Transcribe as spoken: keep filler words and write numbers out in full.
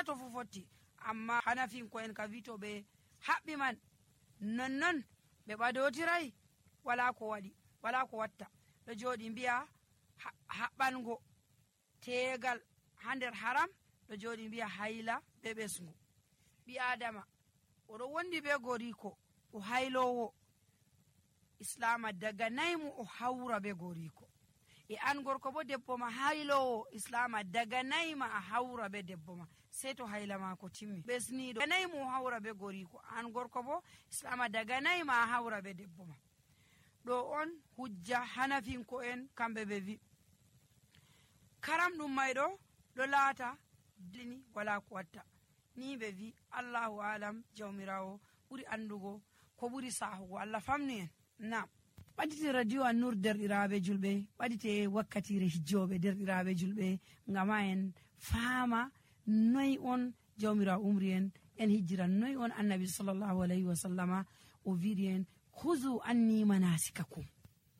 tato fu fotti. Amma hanafinko en ka wito ɓe haɓɓi man nonnon ɓe ɓadotirai wala ko waɗi wala ko watta. Ɗo joɗi mbiya haɓɓango tegal ha nder haram, ɗo joɗi mbiya hayla be ɓesgu. ɓi adama oɗo wondi be goriko o haylowo, islama daga naymu o hawra be goriko. E an gorko bo debbo ma haylowo, islama daga nayma a hawra be debbo ma sei to hayla mako timmi. ɓesniɗo daga naymu o hawra be goriko, an gorko bo islama daga nayma a hawra be debbo ma. ɗo on hujja hanafinko en kamɓe ɓe vi karam ɗum mayɗo ɗo laata dini wala ko watta. Ni ɓe vi allahu alam, jawmirawo ɓuri andugo ko ɓuri sahugo. Allah famnu en. Nam ɓadite radio an nur derɗiraɓe julɓe, ɓadite wakkatire hijjoɓe derɗiraɓe julɓe, ngama en faama noy on jawmirawo umri en en hijjiran, noy on annabi sallallahu alayhi wa sallama o wiɗi en huzu anni manasikakum.